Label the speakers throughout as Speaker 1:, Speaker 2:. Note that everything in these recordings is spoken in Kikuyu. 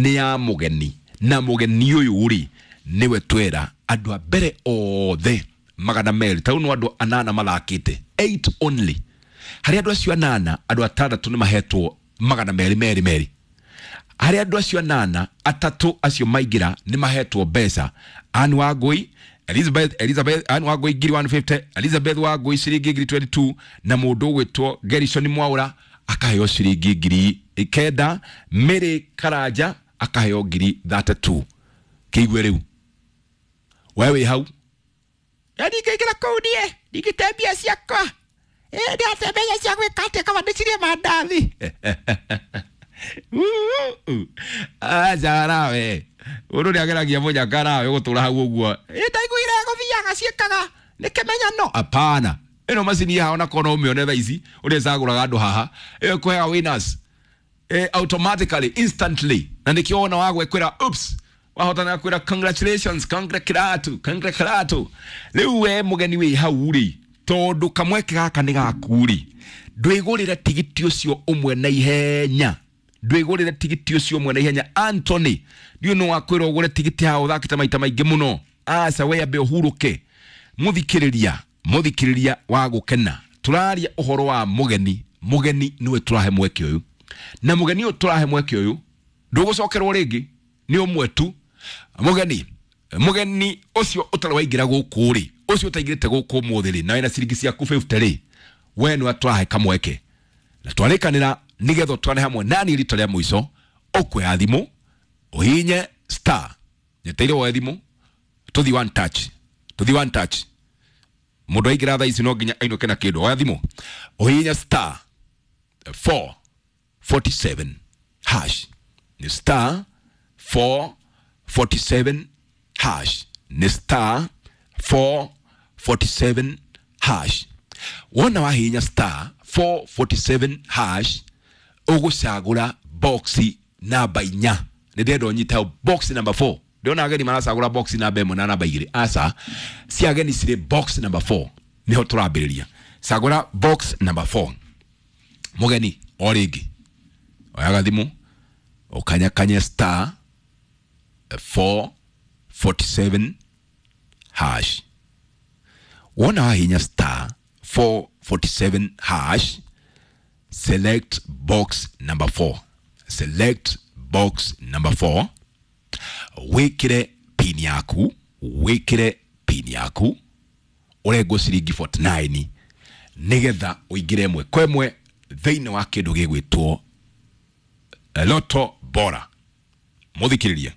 Speaker 1: Nĩ ya mũgeni, na mũgeni ũyũ rĩ nĩwe twera andũ a mbere othe 200, tarĩu no andũ 8 mathakĩte, 8 only. Harĩ andũ acio 8, andũ 6 nĩ mahetwo 200 merĩ merĩ. Harĩ andũ acio 8, 3 acio maingĩra nĩ mahetwo mbeca. Ann Wangui, Elizabeth Ann Wangui ngiri 150, Elizabeth Wangui ciringi ngiri 22, na mũndũ ũgwĩtwo Gerishon Mwaura akaheo ciringi 9,000, Mary Karanja akaheo ngiri 32. Kĩigue rĩu we wĩ hau, ndingĩingĩra kũu niĩ ndingĩte mbia ciakwa, ndĩrate mbeca cia gwĩka atĩa kaba ndĩcirie mandathi. Aca nawe ũndũ nĩ ageragia mũnyaka nawe ũgũtũra hau ũguo, ndaiguire gũthiaga ciĩkaga nĩ kĩmenyano. Hapana, ĩno macini haha ona korwo no ũmĩone thaa ici ũrĩa ĩcagũraga andũ haha, ĩyo ĩkũheaga winners automatically, instantly, na nĩkĩo wona wagwekwĩra oops, wahotana kwĩra congratulations, congratulato, congratulato. Rĩu we mũgeni wĩ hau rĩ, tondũ kamweke gaka nĩ gaku rĩ, ndwĩgũrĩre tigiti ũcio ũmwe na ihenya, ndwĩgũrĩre tigiti ũcio ũmwe na ihenya. Anthony, ndiũ no wakwĩra ũgũre tigiti haha ũthakĩte maita maingĩ mũno. Aca, we ambe ũhurũke. Mũthikĩrĩria, mũthikĩrĩria wa gũkena, tũraria ũhoro wa mũgeni. Mũgeni nĩwe tũrahe mweke ũyũ, na mũgeni ũyũ tũrahe mweke ũyũ ndũgũcokerwo rĩngĩ, nĩ ũmwe tu. Mũgeni, mũgeni ũcio ũtarĩ waingĩra gũkũ rĩ, ũcio ũtaingĩrĩte gũkũ ũmũthĩ rĩ, na wĩna ciringi ciaku 50 rĩ, we nĩwe tũrahe kamweke na twarĩkanĩra nĩgetha ũtwane hamwe nani rita rĩa mũico. Ũkuoya thimũ ũhihinye star, nyeteire woe thimũ, tũthi one touch, tũthi one touch. Mũndũ aingĩra thaa ici no nginya ainũke na kĩndũ. Oya thimũ ũhihinye star 447 hash, nĩ star 447 hash, nĩ star 447 hash. Wona wahihinya star 447 hash, ũgũcagũra box namba 4. Nĩ ndĩrenda ũnyite hau, box number 4. Ndĩrona ageni maracagũra box namba 1 na namba 2. Aca, cia ageni cirĩ box number 4, nĩho tũrambĩrĩria. Cagũra box number 4. Mũgeni o rĩngĩ oyaga thimũ ũkanyakanye star 447 hash. Wona wahihinya star 447 hash, select box number 4, select box number 4, wĩkĩre pin yaku, wĩkĩre pin yaku, ũrengwo ciringi 49 nĩgetha ũingĩre ĩmwe kwa ĩmwe thĩinĩ wa kĩndũ gĩgwĩtwo Loto Bora. Mũthikĩrĩria,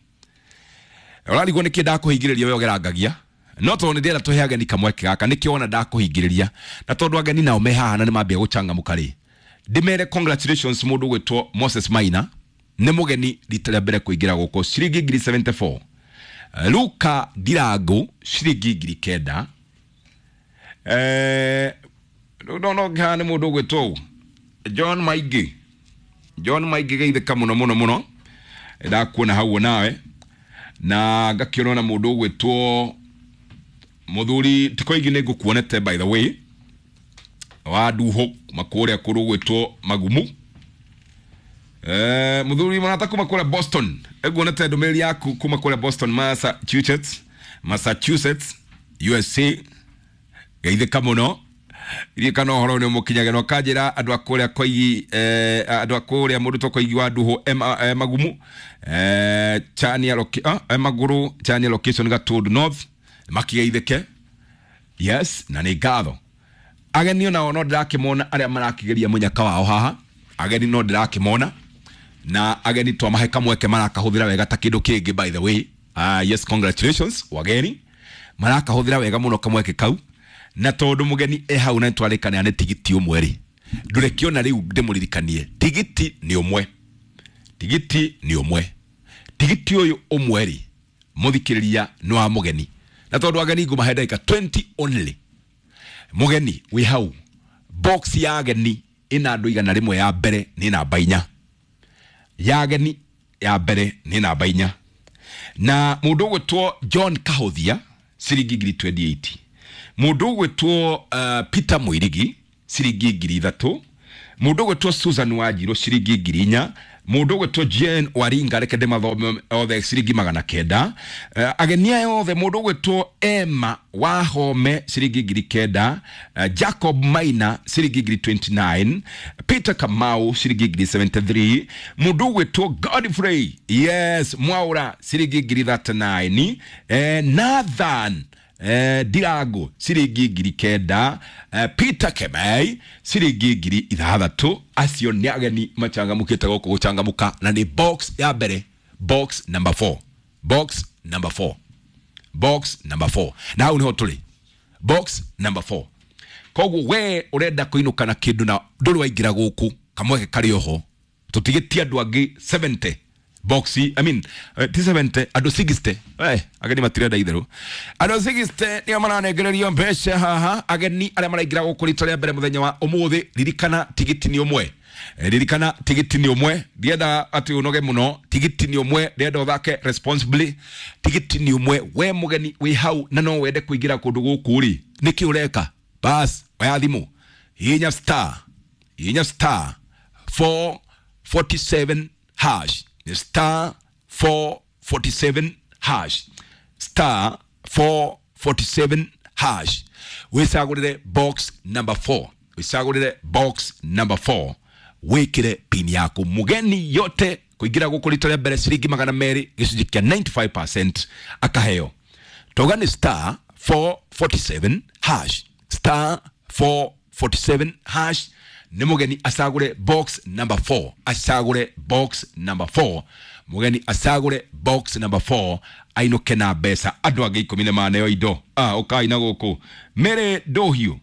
Speaker 1: ũrarigwo nĩkĩ ndakũhingĩrĩria we ũgerangagia, no tondũ nĩ ndĩrenda tũhe ageni kamweke gaka, nĩkĩo wona ndakũhingĩrĩria. Na tondũ ageni nao me haha na nĩ mambia gũcangamũka rĩ, ndĩmere congratulations. Mũndũ ũgwĩtwo Moses Maina nĩ mũgeni rita rĩa mbere kũingĩra gũkũ, ciringi ngiri 74. Luka Ndirangu ciringi 9,000. No no haha nĩ mũndũ ũgwĩtwo John Maingĩ, John Maingĩ, geithĩka mũno mũno mũno, ndakuona hau nawe. Na ngakĩona na mũndũ ũgwĩtwo mũthuri tikoigi, nĩ ngũkuonete by the way, wa nduhũ kuma kũrĩa kũndũ gwĩtwo Magumu. Mũthuri mũrata kuma kũrĩa Boston, nguonete ndũmĩrĩri yaku kuma kũrĩa Boston, Massachusetts, Massachusetts, USA, geithĩka mũno. Ririkana ũhoro nĩ ũmũkinyagĩra ũkanjĩra andũ a kũrĩa Koigi, andũ a kũrĩa mũndũ to Koigi wa nduhũ Magumu, Chania Magũrũ, Chania location, Gatundu North, makigeithĩke. Yes, na nĩ ngatho. Ageni onao no ndĩrakĩmona arĩa marakĩgeria mũnyaka wao haha. Ageni no ndĩrakĩmona, na ageni twamahe kamweke marakahũthĩra wega ta kĩndũ kĩngĩ. By the way, yes, congratulations wageni, marakahũthĩra wega mũno kamweke kau. Na tondũ mũgeni e hau na nĩtwarĩkanĩra nĩ tigiti ũmwe rĩ, ndũrekĩona rĩu ndĩmũririkanie tigiti nĩ ũmwe, tigiti nĩ ũmwe. Tigiti ũyũ ũmwe rĩ, mũthikĩrĩria, nĩ wa mũgeni, na tondũ ageni ngũmahe ndagĩka 20 only. Mũgeni wĩ hau, box ya ageni ĩna andũ 100 ya mbere nĩ namba 4, ya ageni ya mbere nĩ namba 4, na mũndũ ũgwĩtwo John Kahuthia ciringi ngiri 28, mũndũ ũgwĩtwo Peter Mũirigi ciringi 3,000, mũndũ ũgwĩtwo Susan Wanjirũ ciringi 4,000. Mũndũ ũgwĩtwo Jane Waringa, reke ndĩmathome othe, ciringi 900. Ageni aya othe, mũndũ ũgwĩtwo Emma Wahome ciringi 9,000, Jacob Maina ciringi 29,000, Peter Kamau ciringi 73,000, mũndũ ũgwĩtwo Godfrey yes Mwaura ciringi 39,000, Nathan Ndirango ciringi 9,000, Peter Kemei ciringi 6,000. Acio nĩ ageni machangamũkĩte gũkũ gũchangamũka, na nĩ box ya mbere, box number 4, box number 4, box number 4, na hau niho tũrĩ, box number 4. Koguo we ũrenda kũinũka na kĩndũ na ndũrĩ waingĩra gũkũ, kamweke karĩ oho, tũtigĩtie andũ angĩ 70 box, I mean, ti 70, andũ 60. Ageni matirenda itherũ, andũ 60 nĩo maranengererio mbeca haha, ageni arĩa maraingĩra gũkũ rita rĩa mbere mũthenya wa ũmũthĩ. Ririkana tigiti nĩ ũmwe. Ririkana tigiti nĩ ũmwe, ndienda atĩ ũnoge mũno, tigiti nĩ ũmwe, ndĩrenda ũthake responsibly, tigiti nĩ ũmwe. We mũgeni wĩ hau na no wende kũingĩra kũndũ gũkũ rĩ, nĩkĩ ũreka? Bas, oya thimũ, hihinya star, hihinya star 447 hash, star 447 hash, star 447 hash, wicagũrĩre box number 4, wicagũrĩre box number 4, wĩkĩre pin yaku. Mũgeni yote kũingĩra gũkũ rita rĩa mbere, ciringi 200, gĩcunjĩ kĩa 95% akaheo. Tauga nĩ star 447 hash, star 447 hash, nĩ mũgeni acagũre box number 4, acagũre box number 4, mũgeni acagũre box number 4 ainũke na mbeca. Andũ angĩ 10 nĩ maneo indo. Ũkai na gũkũ. Mary Ndohiũ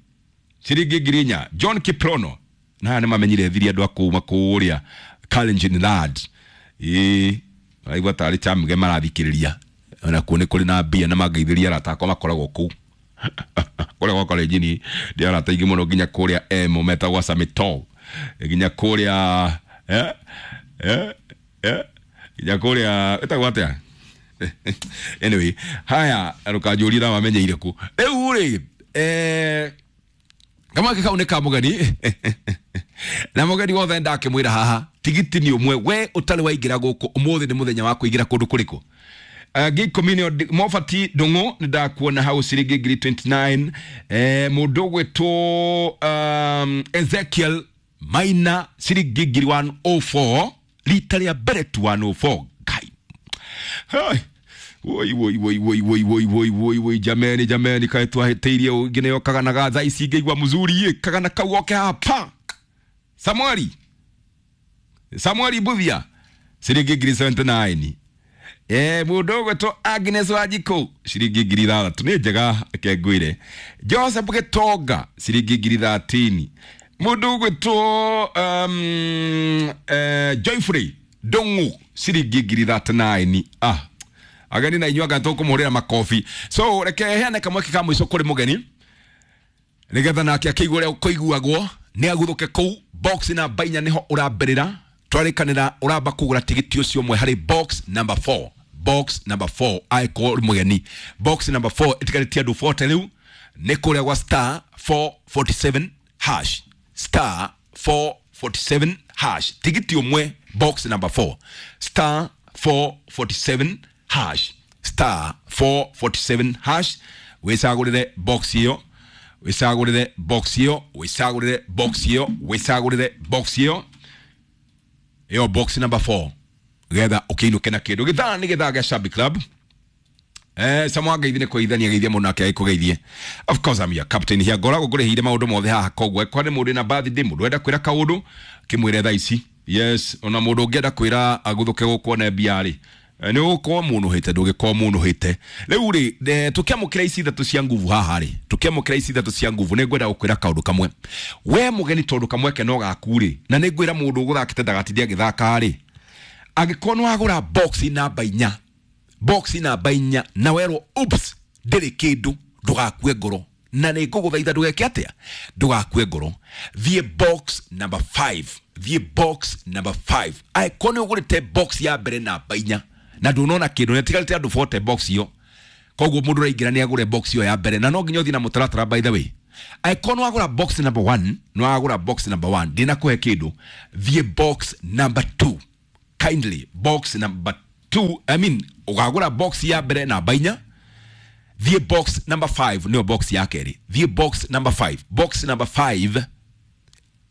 Speaker 1: ciringi 4,000, John Kiprono, na aya nĩ mamenyire thiri andũ a kuma kũrĩa Kalenjin Lad, ĩĩ maraigua tarĩ chamge marathikĩrĩria, ona kuo nĩ kũrĩ na mbia, na mangeithĩria arata akwa makoragwo kũu kũrĩa gwa Kalenjin, ndĩ arata aingĩ mũno nginya kũrĩa emo metagwo Samitol, nginya kũrĩa nginya kũrĩa ĩtagwo atĩa, anyway, haya rũkanjũria na mamenyeire kũ rĩu rĩ, kamweke kau nĩ ka mũgeni, na mũgeni wothe ndakĩmwĩra haha tigiti nĩ ũmwe. We ũtarĩ waingĩra gũkũ, ũmũthĩ nĩ mũthenya wa kũingĩra kũndũ kũrĩkũ? Angĩ 10 nĩo Mobati Ndung'u, nĩ ndakuona hau ciringi 29,000. Mũndũ ũgwĩtwo Ezekiel Maina ciringi 104,000, rita rĩa mbere tu 104. Ngai. Hai. Woi woi woi woi woi woi woi woi woi, jameni jameni, kaĩ twahĩtĩirie ũngĩ nĩyo kagana ga thaa ici ngĩigua mzuri ĩ, kagana kau oke hapa. Samueli Samueli Buthia ciringi 79,000. Mũndũ ũgwĩtwo Agnes Wanjikũ ciringi 6,000, nĩ njega reke ngwĩre. Joseph Gĩtonga ciringi 13,000. Mũndũ ũgwĩtwo Joyfrey Ndung'u ciringi 39,000. Ageni na inyuĩ anga tũkũmũhũrĩra makobi. So reke heane kamweke ka mũico kũrĩ mũgeni nĩgetha nake akĩigua ũrĩa kũiguagwo, nĩ aguthũke kũu box namba 4 nĩho ũrambĩrĩra. Twarĩkanĩra ũramba kũgũra tigiti ũcio ũmwe harĩ box number 4, box number 4, angĩkorwo ũrĩ mũgeni. Box number 4 ĩtigarĩtie andũ 40 rĩu, nĩ kũrĩa gwa star 447 hash, star 447 hash, tigiti ũmwe box number 4, star 447 hash, star 447 hash, wĩcagũrĩre box ĩyo, wĩcagũrĩre box ĩyo, wĩcagũrĩre box ĩyo, wĩcagũrĩre box ĩyo, ĩyo box number 4, getha ũkĩinũke na kĩndũ. Gĩthaa nĩ gĩthaa gĩa Shabby Club. Samu ngeithi nĩ kũgeithania geithia mũndũ nake agĩkũgeithie. Of course I'm your captain here, ngoragwo ngũrĩhĩire maũndũ mothe haha, koguo kwa nĩ mũndũ na birthday, mũndũ enda kwĩra kaũndũ kĩmwĩre thaa ici. Yes, ona mũndũ ũngĩenda kwĩra aguthũke gũkũ one mbia rĩ, nĩ ũgũkorwo mũnũhĩte, ndũgĩkorwo mũnũhĩte. Rĩu rĩ, tũkĩamũkĩra ici ithatũ cia nguvu haha rĩ, tũkĩamũkĩra ici ithatũ cia nguvu, nĩ ngwenda gũkwĩra kaũndũ kamwe. We mũgeni, tondũ kamweke no gaku rĩ, na nĩ ngwĩra mũndũ ũgũthakĩte ndagatinde agĩthaka rĩ, angĩkorwo nĩ wagũra box namba 4, box namba 4, na werwo oops ndĩrĩ kĩndũ, ndũgakue ngoro, na nĩ ngũgũthaitha ndũgeke atĩa, ndũgakue ngoro, thiĩ box number 5, thiĩ box number 5. Angĩkorwo nĩ ũgũrĩte box ya mbere namba 4 na ndũnona kĩndũ, na ĩtigarĩte andũ 40 box ĩyo, koguo mũndũ ũraingĩra nĩ agũre box ĩyo ya mbere, na no nginya ũthiĩ na mũtaratara by the way. Angĩkorwo nĩ wagũra box number 1, nĩ wagũra box number 1, ndinakũhe kĩndũ, thiĩ box number 2. Kindly, box number 2, I mean ũgagũra box ya mbere namba 4, thiĩ box number 5, nĩyo box ya kerĩ. Thiĩ box number 5. Box number 5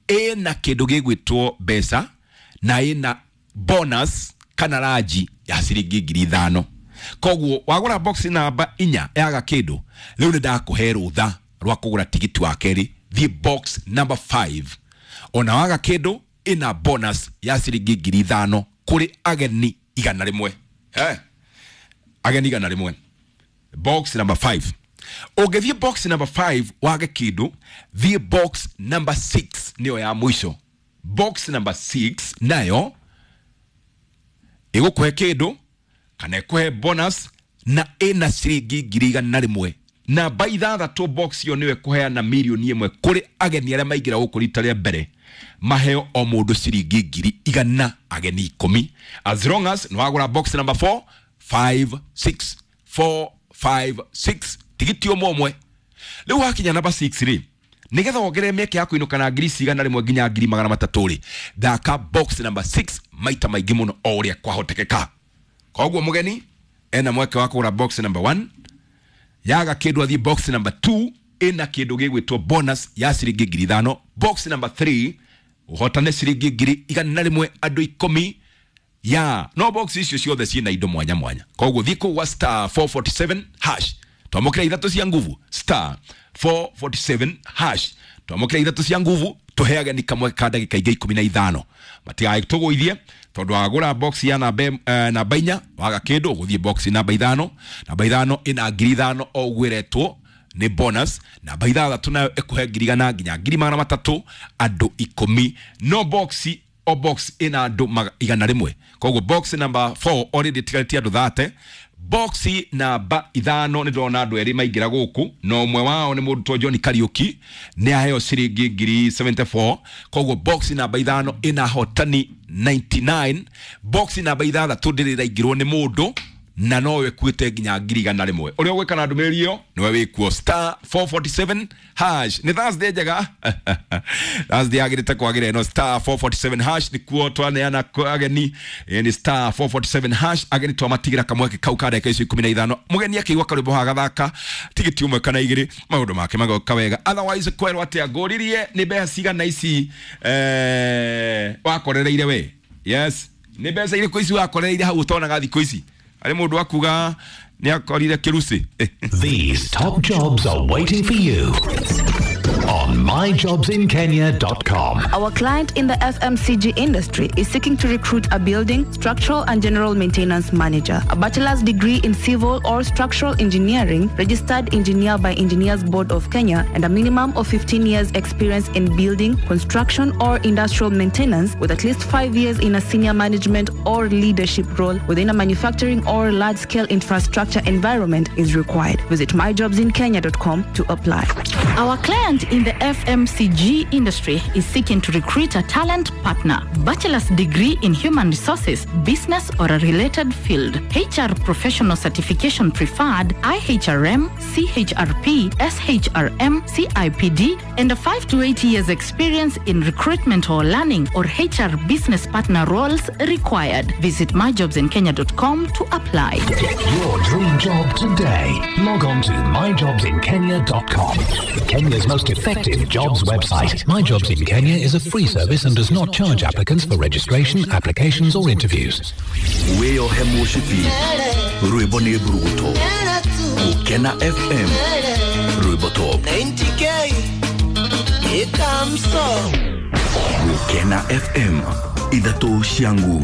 Speaker 1: ĩna kĩndũ gĩgwĩtwo mbeca na ĩna bonus kana ranji ya ciringi 5,000. Koguo wagũra box namba 4 yaga kĩndũ, rĩu nĩ ndakũhe rũtha rwa kũgũra tigiti wa kerĩ. Thiĩ box number 5, ona waga kĩndũ ĩna bonus ya ciringi 5,000 kũrĩ ageni 100. Ageni 100, box number 5. Ũngĩthiĩ box number 5 wage kĩndũ, thiĩ box number 6, nĩyo ya mũico. Box number 6 nayo ĩgũkũhe kĩndũ kana ĩkũhe bonus na ĩna ciringi 100,000. Namba 6 box ĩyo nĩyo ĩkũheana 1,000,000 kũrĩ ageni arĩa maingĩra gũkũ rita rĩa mbere, maheo o mũndũ ciringi 100,000, ageni 10, as long as nĩ wagũra box number 4 5 6 4 5 6 tigiti ũmwe ũmwe. Rĩu wakinya namba 6 rĩ, nĩgetha wongerere mĩeke ya kũinũka na 100,000 nginya 300,000 rĩ, thaka box number 6 maita maingĩ mũno o ũrĩa kwahotekeka. Koguo mũgeni ena mweke wa kũgũra box number 1, yaga kĩndũ athiĩ box number 2, ĩna kĩndũ gĩgwĩtwo bonus ya ciringi 5,000. Box number 3 ũhotane ciringi 100,000 andũ 10 ya no box icio ciothe ciĩna indo mwanya mwanya. Koguo thiĩ kũu gwa star 447 hash, twamũkĩra ithatũ cia nguvu, star 447 hash, twamũkĩra ithatũ cia nguvu, tũhe ageni kamwe ka ndagĩka ingĩ 15 matigagĩtũgũithie, tondũ wagũra box ya namba 4 waga kĩndũ ũgũthiĩ box namba 5. Namba 5 ĩna 5,000 o ũguo ĩretwo nĩ bonus. Namba 6 nayo ĩkũhe 100,000 nginya 300,000 andũ 10. No box o box ĩna andũ 100. Koguo box number 4 already ĩtigarĩtie andũ 30. Box namba 5 nĩ ndĩrona andũ erĩ maingĩra gũkũ, na ũmwe wao nĩ mũndũ to John Kariuki, nĩ aheo ciringi 74,000. Koguo box namba 5 ĩna hotani 99. Box namba 6 ndĩrĩ ĩraingĩrwo nĩ mũndũ na no ĩkuĩte nginya 100,000. Ũrĩa ũgwĩka na ndũmĩrĩri ĩyo nĩwe wĩkuo star 447 hash. Nĩ Thursday njega, Thursday yagĩrĩte kwagĩra ĩno. Star 447 hash nĩkuo twaneana ageni. Nĩ star 447 hash, ageni twamatigĩra kamweke kau ka ndagĩka icio 15. Mũgeni akĩigua karwĩmbo haha gathaka tigiti ũmwe kana igĩrĩ, maũndũ make magoka wega. Otherwise kwerwo atĩa ngũririe nĩ mbeca cigana ici wakorereire we? Yes, nĩ mbeca irĩkũ ici wakorereire hau ũtonaga thikũ ici? Arĩ mũndũ akuga nĩ akorire kĩruci.
Speaker 2: These top jobs are waiting for you on myjobsinkenya.com.
Speaker 3: Our client in the FMCG industry is seeking to recruit a building, structural and general maintenance manager, a bachelor's degree in civil or structural engineering, registered engineer by Engineers Board of Kenya, and a minimum of 15 years experience in building, construction or industrial maintenance, with at least 5 years in a senior management or leadership role within a manufacturing or large-scale infrastructure environment is required. Visit myjobsinkenya.com to apply.
Speaker 4: Our client in the FMCG industry is seeking to recruit a talent partner, bachelor's degree in human resources, business or a related field, HR professional certification preferred, IHRM, CHRP, SHRM, CIPD, and a 5 to 8 years experience in recruitment or learning or HR business partner roles required. Visit myjobsinkenya.com to apply.
Speaker 2: Get your dream job today. Log on to myjobsinkenya.com. Kenya's most effective jobs website. My Jobs in Kenya is a free service and does not charge applicants for registration, applications or interviews.
Speaker 5: Wĩyohe mũcibi, rwĩmbo nĩ mburuguto. Gũkena FM, rwĩmbo top.
Speaker 6: 90K Gũkena
Speaker 5: FM, ithatũ cia nguvu.